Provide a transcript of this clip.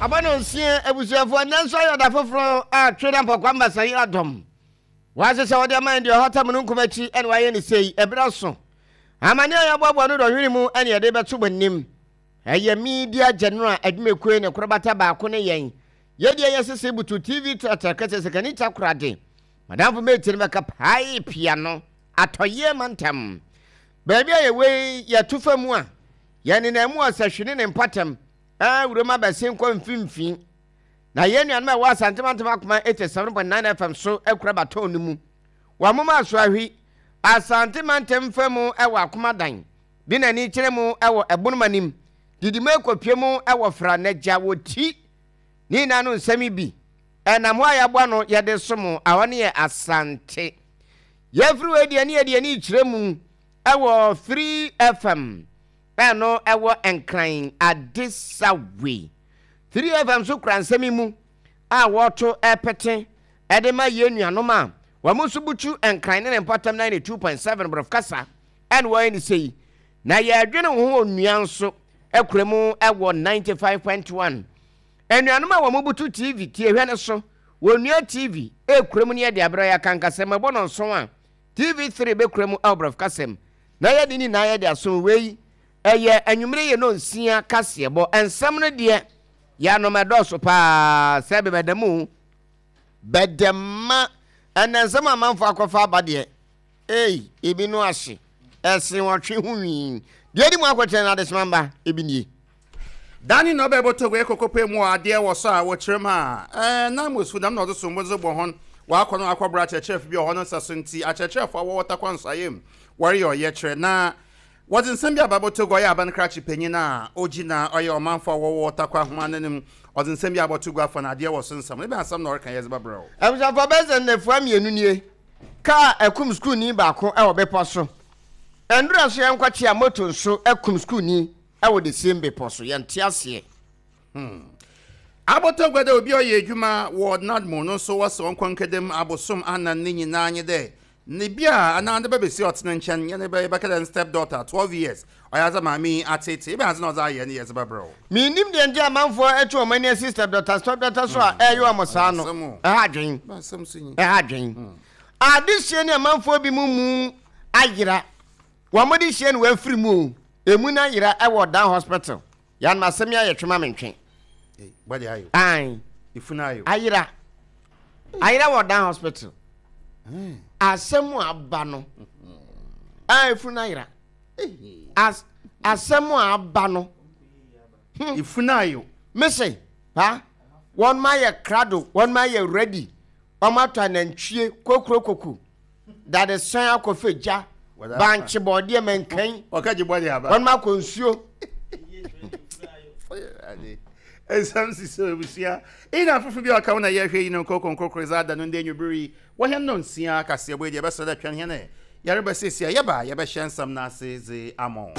Aba no nsia abusuafoɔ nnɛ nso ayɛ ɔda foforɔ a twe na mpɔkwa mmasa yi adɔm. Wɔahyehyɛ wɔde ama yɛn deɛ ɔhata mununkum akyi ɛna wɔayɛ ne sei ɛberɛ so. Amane a yɛaboaboa no dɔnhwere mu ɛne yɛde bɛto mo anim. Ɛyɛ Media General adwumakuo ne korobata baako ne yɛn. Yɛdeɛ yɛsese butu TV tratra kɛsɛ sikani takoradi. Madamfo mate no bɛka pae pia no atɔyeɛ mantam. Baabi a yɛwɔ yi yɛto fa mu a yɛnenam mu ɔsahwi ne ne mpɔtam ɛɛ wurom abɛsen kɔ mfimfini. Na yɛn nuanom a ɛwɔ Asante Mantam Akoma 87.9 FM so akura batɔn no mu. Wɔn moma aso ahwi Asante Mantam fa mu ɛwɔ Akomadan, de n'ani kyerɛ mu ɛwɔ Ɛbonom anim, didi mu ɛkɔpie mu ɛwɔ Fra N'agya wɔ ti. Ne nyinaa no nsɛm yi bi ɛnam hɔ a yɛaboa no yɛde som ahɔ ne yɛ Asante. Yɛfiri wei deɛ ne yɛde ani kyerɛ mu ɛwɔ 3 FM ɛno ɛwɔ Nkran Adesawe. 3FM nso kura nsɛm yi mu a wɔto ɛpete ɛde ma yɛn nuanom a wɔn nso butu Nkran ne ne mpɔtam 92.7 borɔfo kasa ɛna wɔyɛ ne sei. Na yɛdwene wo ho onua nso akura mu ɛwɔ 95.1. Anuanom a wɔn butu TV tie hwɛ no so wɔnua TV ekura mu ne yɛde abrɛ yɛ akankasɛm ɛbɔ no nson a TV3 bɛkura mu ɛwɔ borɔfo kasɛm na yɛde ne nyinaa yɛde aso wei ɛyɛ anwummere yɛ no nsia kaseɛbɔ nsɛm no deɛ yɛanom ɛdɔɔso paa sɛ bɛbɛda mu bɛdɛma ɛnɛ nsɛm amanfo akɔfa aba deɛ ei ebi no ahye ɛsen wɔtwe ho nwii deɛ di mu akɔkyerɛ no adesoma mba ebi nie. Danny na ɔbɛbɔ Togo ekɔkɔpue mu wɔ adeɛ wɔ so a wɔkyerɛ mu a, ɛɛ, na Mosfu dɛm na ɔdze sombo dze bɔ hɔn. Ɔakɔ no akɔbra akyerɛkyerɛfo bi wɔ hɔ no nsa so ntsi, akyerɛkyerɛfo a wɔwɔ Tarkwa Nsuaem mu wɔreyɛ ɔyɛkyerɛ na wɔdze nsɛm bi aba abɔ Togo ɔyɛ aban krakye panyin a ogyina ɔyɛ ɔmanfo a wɔwɔ Tarkwa ho ananmu. Ɔdze nsɛm bi abɔ Togo afa na adeɛ wɔ so nsɛm no. Ebɛn asɛm na ɔreka yɛdze bɛbrɛ wo? Abusuafo bɛyɛ sɛ nnafua mmienu nie, kaa akum sukuuni baako wɔ bepɔ so. Nnora nso yɛnkɔkyea moto nso akum sukuuni wɔ the same bepɔ so. Yɛnte aseɛ. Hmm. Abɔtɔ gua dɛ obi a ɔyɛ edwuma wɔ NADMO no so wɔse ɔnkɔ nkɛda mu abosoom anan ne nyinaa nye dɛ ne bi a anaa ne ba basia a ɔtse ne nkyɛn nye ne ba yɛbɛka dɛ ne step daughter 12 years ɔyɛ adze a maame yi atseetsee ebɛn adze na ɔdze ayɛ ne yɛdze bɛbrɛ wo. Mennim deɛ nti a amanfoɔ atu wɔn ani asi step daughter step daughter so a ɛreyɛ wɔn saa no. Ɛha adwen. Ɛha adwen. Adehyeɛ ne amanfoɔ bi mu mu ayera. Wɔn de hyeɛ no wɔafiri mu o. Emu no ayera ɛwɔ Dan hospital. Yanom asɛm yi ayɛ twema mentwe. Ae. Ayera. Ayera wɔ Dan hospital. Asɛm a aba no. Ae funu ayera. As asɛm a aba no. Hmm. Efunu ayo. Mese, ha? Wɔn ma yɛ krado, wɔn ma yɛ ready. Wɔn atɔ anantwie kokuro koko. Dadesɛn akɔfɛ gya, bankye bɔɔdeɛ mankan. Ɔka gye bɔdeɛ aba. Wɔn akɔ nsuo. Nsɛm sisi abusua. Ina afoforo bi a ɔka ho na yɛhwɛ yi no nkoko nkrokro dza ada no ndɛ anwummere yi. Wɔ hɛn nnɔnsia kaseɛbɔ yi deɛ yɛbɛsrɛ dɛ twɛn hɛn ɛ. Yɛreba seesei a yɛba a yɛbɛhyɛ nsɛm no ase dze ama wo.